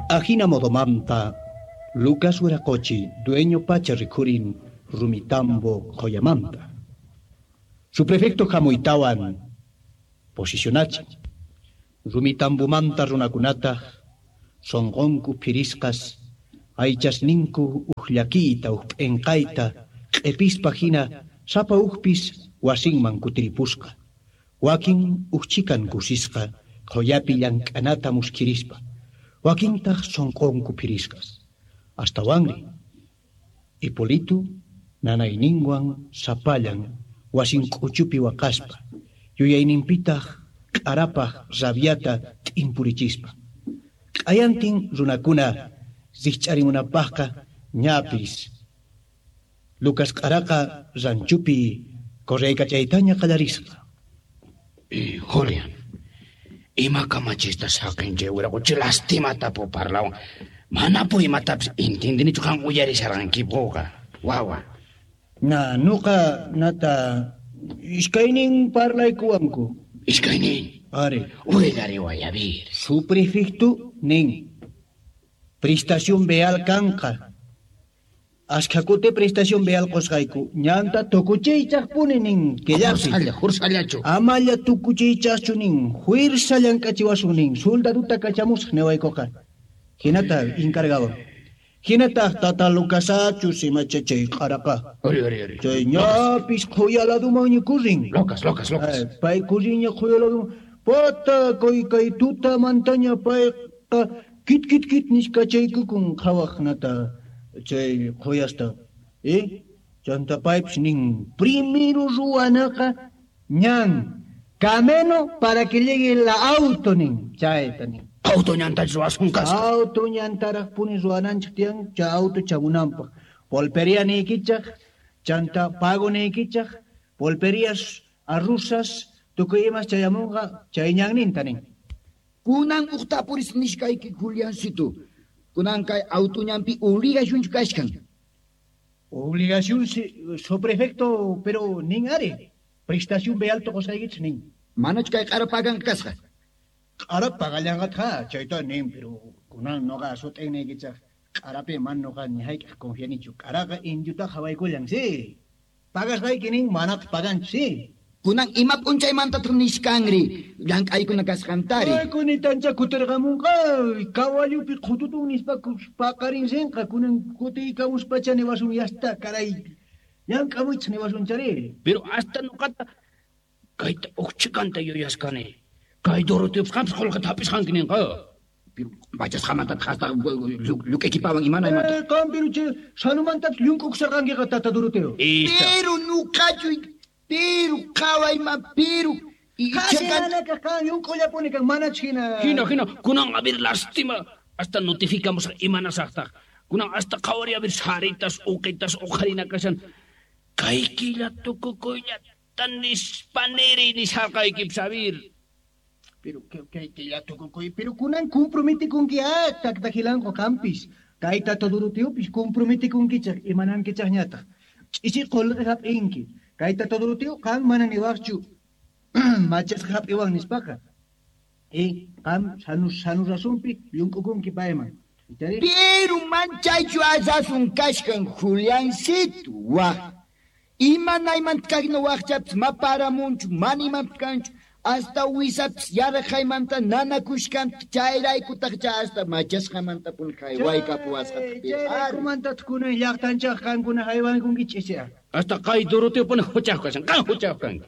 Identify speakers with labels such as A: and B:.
A: Ajina modomanta, Lucas Huiracochi, dueño pacha rikhurin Rumitambo Joyamanta. Su prefecto hamuytawan posicionachin. Rumitambumanta runakunataq sunqunku phirisqas, aychasninku uj llakiyta uj p'inqayta q'ipispa hina sapa ujpis wasinman kutiripusqa. Wakin uj chhikan kusisqa qhuyapi llank'anata muskhirispa, wakintaq sunqunku phirisqas. Astawanri, Hipolito nanayninwan sapallan wasin k'uchupi waqaspa, yuyayninpitaq q'arapaq rabyata t'impurichispa. Q'ayantin runakuna rikch'arimunapaqqa ñapis Lucas q'araqa ranchupi correykachaytaña qallarisqa.
B: Julián, ima kamachista saqin chay wiraqochi lastimata po parlawan. Manapu imatapis intindinichu qan uyarisharqankipuqa, wawa.
A: Na, nuqa nata iskaynin parlaykuwanku.
B: Iskaynin?
A: Ari.
B: Willariway, a ver.
A: Su prefecto nin. Prestación vial kanqa. Ashkha kuti prestación vial qusqayku. Ñanta tukuchiychaqpuni nin killapi.
B: Jursalla, jursallachu.
A: Amalla tukuchiychaqchu nin. Juirsa llank'achiwasun nin. Soldaduta kachamusaq niwaykuqa. Hinata encargado. Hinataq tata Lucasachus imacha chay q'araqa.
B: Ori, ori, ori.
A: Chay ñapis qhuya ladumanña kurrin.
B: Locas, locas, locas.
A: Pay kurrinña qhuya laduman. Pata kay kay tuta mantaña payqa kit kit kit nisqa chaykukun qhawaq nata chay qhuyasta. Chanta paypis nin primero ruwanaqa ñan camino para que llegue la auto nin chayta nin.
B: Auto ñantach ruwasun kasqa.
A: Auto ñantaraq puni ruwananchik tiyan chay auto chamunanpaq. Pulpería niykichaq, chanta pago niykichaq, pulperías arrusas tukuy imas chayamunqa chay ñanninta nin.
C: Kunan uqtapuris nishkayki Juliancito. Kunan kay auto ñanpi obligacionchu kashkan.
A: Obligación, sí, su prefecto, pero nin ari. Prestación vial qusqaykichik nin.
C: Manachu kay q'ara pagan kasqa?
A: Q'ara pagallanqatqa, chayta nin, pero kunan noqa sut'inniykichaq q'arapi man noqa ni hayk'aq confianichu. Q'araqa indiota qhawaykullan, sí. Pagasqayki nin, manataq paganchu, sí.
C: Kunan ima p'unchaymantataq nishkanri llank'aykuna kasqantari.
A: Ay, kunitancha kutirqamunqa, kawallupi qhututun nispa paqarinsinqa, kunan kutiykamuspacha niwasun yasta, caray, llank'amuychik niwasunchari.
B: Pero hasta nuqata kayta uqchikanta yuyasqani. Kay Doroteo qampas qullqita hap'isqanki ninqa.
C: Pero machasqamantataq hasta lluk'aykipawan imana imata.
A: Qam pero chay sanumantapis llunk'ukusarqankiqa tata Doroteo.
B: Ista.
C: Pero nuqachu, pero qhawayma, pero y
A: Qasi
C: chekan-
A: nanaka qan llunk'ullapuni kan, manachu hina.
B: Hina, hina, kunan a ver lastima, hasta notificamos imanasaqtaq. Kunan hasta qhawari a ver saritas, uqitas, uqharina kashan. Kay killa tukukuyllata nispa niri nisharqaykip sabir.
A: Pero que killa tukukuy, pero kunan comprometikunki, taktakilanqo qampis. Kay tata Doroteopis comprometikunkichaq, imanankichaqñataq. Ch'isi qullqi hap'inki. Kay tata Doroteo qan mana niwaqchu machasqa hap'iwan nispaqa. Qam sanu rasunpi llunk'ukunki payman. Ichari?
C: Pero manchaychu asasun kashkan Juliancito, waq. Imanaymanta kaqna waqchapis ma paramunchu, mana imanpis kanchu. Hasta wisapis yaraqaymanta nanakushkanta chayraykutaq chay hasta machasqamanta puni haywaykapuwasqa.
A: Chayraykumantataq kunan llaqtanchaq qankuna haywankunkichis ch'isiqa.
B: Hasta kay Doroteo puni huchaq kashan, qan huchaq kanki.